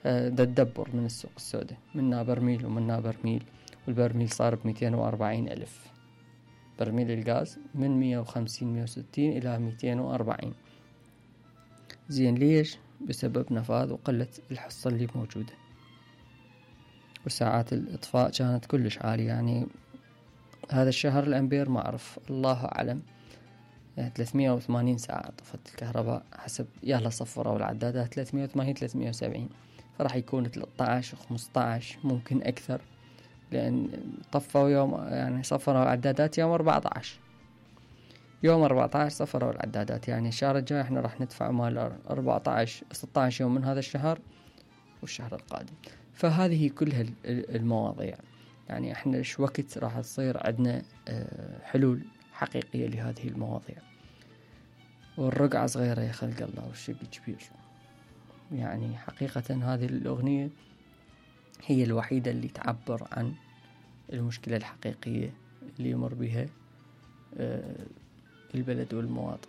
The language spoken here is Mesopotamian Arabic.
فدا تدبر من السوق السوداء، منا برميل ومنا برميل، والبرميل صار ب240,000. برميل الغاز من 150-160 إلى 240. زين ليش؟ بسبب نفاذ وقلة الحصة اللي موجودة. وساعات الإطفاء كانت كلش عالية، يعني هذا الشهر الأمبير ما أعرف، الله أعلم، 380 ساعة طفت الكهرباء حسب يلا صفروا العدادات 380-370، فراح يكون 13 و15 ممكن أكثر، لأن طفوا يوم، يعني صفروا العدادات يوم 14، يوم 14 صفروا العدادات، يعني الشهر الجاي احنا راح ندفع مال 16 يوم من هذا الشهر والشهر القادم. فهذه كلها المواضيع، يعني احنا ايش وقت راح تصير عندنا حلول حقيقية لهذه المواضيع. والرقعة صغيرة يا خلق الله والشق كبير. يعني حقيقة هذه الأغنية هي الوحيدة اللي تعبر عن المشكلة الحقيقية اللي يمر بها البلد والمواطن.